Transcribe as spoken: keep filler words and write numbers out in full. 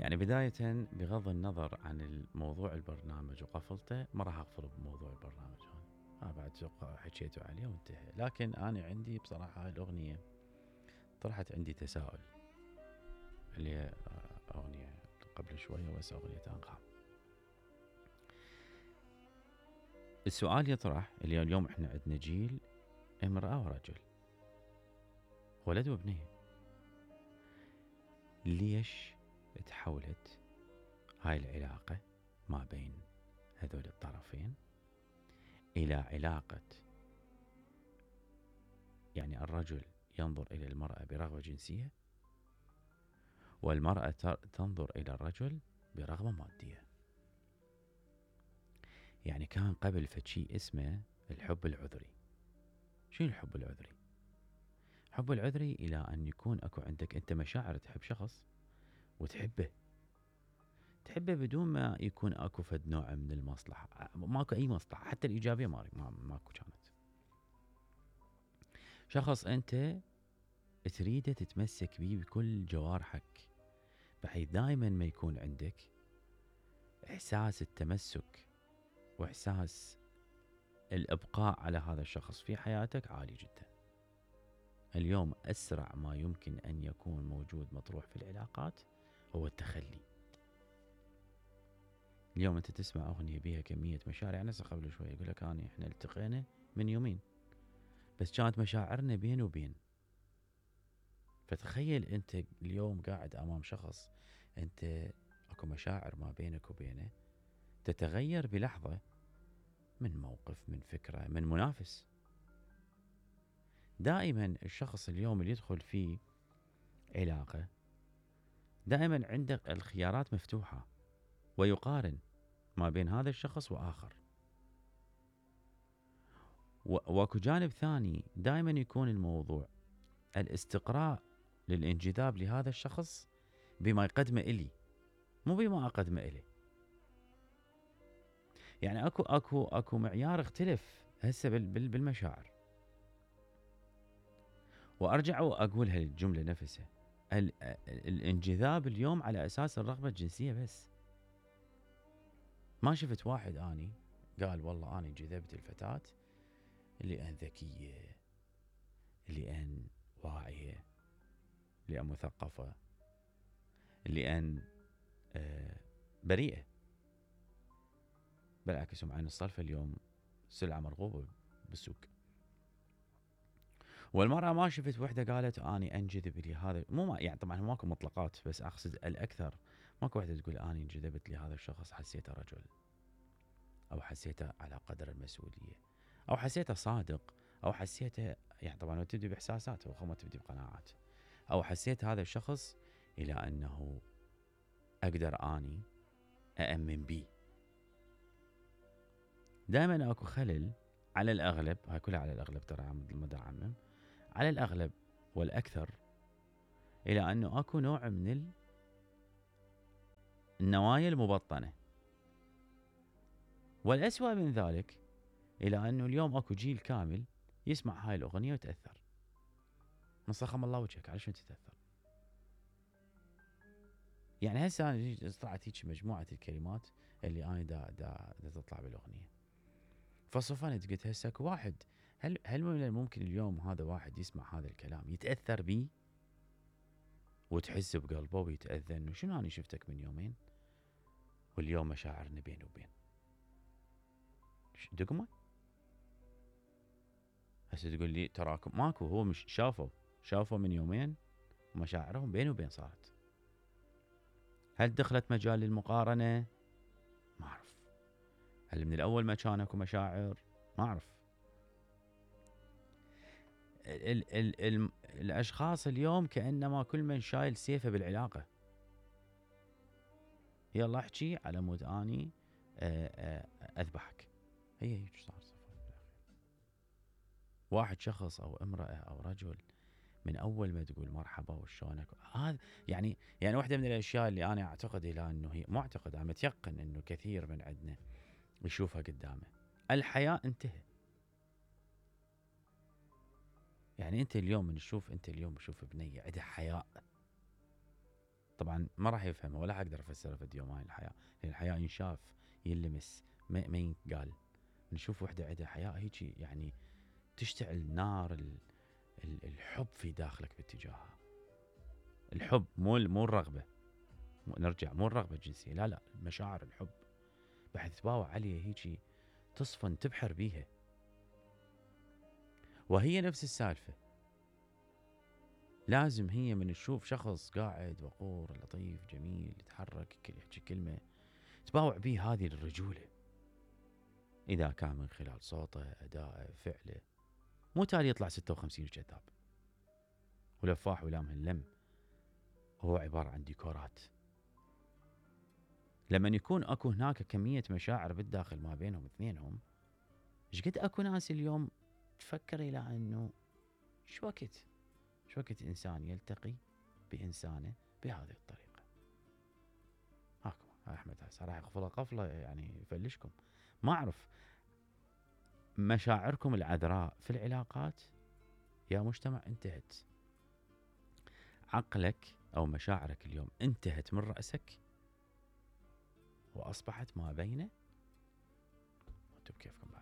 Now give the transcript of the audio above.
يعني بداية بغض النظر عن الموضوع البرنامج وقفلته، ما راح اغفل بموضوع البرنامج هذا، بعد اتوقع حكيتوا عليه وانتهى. لكن انا عندي بصراحة هاي الاغنية طرحت عندي تساؤل، اللي هي اغنية قبل شوية بس اغنية انغام. السؤال يطرح اللي اليوم احنا عندنا جيل امرأة ورجل، ولد وبنية، ليش تحولت هاي العلاقة ما بين هذول الطرفين إلى علاقة، يعني الرجل ينظر إلى المرأة برغبة جنسية، والمرأة تنظر إلى الرجل برغبة مادية. يعني كان قبل فشي اسمه الحب العذري. شنو الحب العذري؟ الحب العذري إلى أن يكون أكو عندك أنت مشاعر، تحب شخص وتحبه تحبه بدون ما يكون أكو فد نوع من المصلحة، ماكو أي مصلحة حتى الإيجابية ما ماكو كانت. شخص أنت تريده تتمسك بيه بكل جوارحك، بحيث دائما ما يكون عندك إحساس التمسك وإحساس الإبقاء على هذا الشخص في حياتك عالي جدا. اليوم أسرع ما يمكن أن يكون موجود مطروح في العلاقات هو التخلي. اليوم أنت تسمع أغنية بيها كمية مشاعر، يعني قبل شوي يقول لك أنا إحنا التقينا من يومين بس كانت مشاعرنا بين وبين. فتخيل أنت اليوم قاعد أمام شخص أنت أكو مشاعر ما بينك وبينه تتغير بلحظة من موقف، من فكرة، من منافس. دائما الشخص اليوم اللي يدخل في علاقة دائما عندك الخيارات مفتوحة، ويقارن ما بين هذا الشخص وآخر. واكو جانب ثاني دائما يكون الموضوع الاستقراء للانجذاب لهذا الشخص بما يقدمه إلي، مو بما أقدمه إليه. يعني اكو اكو اكو معيار اختلف هسه بالمشاعر. وارجع واقول هالجملة نفسها، الانجذاب اليوم على اساس الرغبة الجنسية بس. ما شفت واحد اني قال والله اني انجذبت الفتاة لأن ذكية، لأن واعية، لأن مثقفة، لأن آه بريئة. بالعكس هم عين الصرف اليوم سلعة مرغوبة بالسوق. والمرأة ما شفت وحدة قالت اني انجذب لهذا، مو ما يعني طبعا ماكو مطلقات بس اقصد الاكثر، ماكو وحدة تقول اني انجذبت لهذا الشخص حسيته رجل، او حسيته على قدر المسؤولية، او حسيته صادق، او حسيته يعني طبعا تبدي باحساسات وما تبدي بقناعات، او حسيت هذا الشخص الى انه اقدر اني اامن بيه. دائما اكو خلل على الاغلب، هاي كلها على الاغلب ترى مدى عمم، على الاغلب والاكثر الى انه اكو نوع من النوايا المبطنة. والاسوأ من ذلك الى انه اليوم اكو جيل كامل يسمع هاي الاغنية وتأثر. نصخم الله وجهك، على شنو تتأثر؟ يعني هسه انا طلعت هيك مجموعة الكلمات اللي انا دا دا, دا تطلع بالاغنية، فصفنت قلت هسه واحد، هل هل من الممكن اليوم هذا واحد يسمع هذا الكلام يتأثر بيه وتحس بقلبه ويتأذى انه شنو انا شفتك من يومين واليوم مشاعرنا بين وبين دقمة؟ هسه تقول لي تراكم ماكو، هو مش شافوا شافوا من يومين ومشاعرهم بين وبين صارت. هل دخلت مجال المقارنة؟ ما أعرف. هل من الأول ما كان اكو مشاعر؟ ما أعرف. ال ال ال الأشخاص اليوم كأنما كل من شايل سيفه بالعلاقة. يلا احكي على مود اني اذبحك. هي هيك صار صفر بالاخير. واحد شخص او امرأة او رجل من اول ما تقول مرحبا وشلونك، هذا يعني يعني واحدة من الاشياء اللي انا اعتقد الى انه هي مو اعتقد، انا متيقن انه كثير من عندنا يشوفها قدامه، الحياء انتهى. يعني انت اليوم نشوف انت اليوم شوف بنية عندها حياء، طبعا ما راح يفهمها ولا اقدر افسرها في يوم هاي الحياه، لان الحياه ينشاف ينلمس ما, ما ينقال. نشوف وحده عندها حياه هيجي يعني تشتعل نار ال ال الحب في داخلك باتجاهها. الحب مو مو الرغبه، نرجع مو الرغبه الجنسيه، لا لا، مشاعر الحب بحيث تباوع عليها هيجي تصفن تبحر بيها. وهي نفس السالفه، لازم هي من تشوف شخص قاعد وقور لطيف جميل يتحرك يحكي كلمه تباوع بيه هذه الرجوله، اذا كان من خلال صوته ادائه فعله، مو تالي يطلع ستة وخمسين كذاب ولفاح ولا مهلم، هو عباره عن ديكورات. لما يكون اكو هناك كميه مشاعر بالداخل ما بينهم اثنينهم، ايش قد اكو ناس اليوم تفكر الى انه شو وقت شو وقت انسان يلتقي بانسانه بهذه الطريقه. هاكم احمد هسه راح يغفله قفله يعني يفلشكم. ما اعرف مشاعركم العذراء في العلاقات يا مجتمع انتهت. عقلك او مشاعرك اليوم انتهت من راسك واصبحت ما بين، وانتم بكيفكم.